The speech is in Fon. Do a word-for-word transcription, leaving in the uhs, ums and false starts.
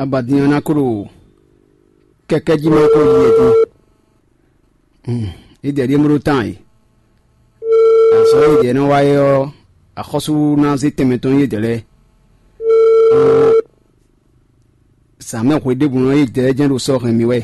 Abadin ɔ́ ná ko ɖo kɛkɛ́ jí ma ko yi e din. Yědɛɛ ɖíe bó ɖó tán e. Azɔ̌ e yědɛɛ nɔ wa é ɔ́, axɔ́sú ná zé tɛnmɛ tɔn nú yědɛɛ lɛ́ɛ. Zǎn mɛ hwe ɖěbǔ nɔ yědɛɛ jɛ́n ɖo sɔ́ hɛn mì wɛ.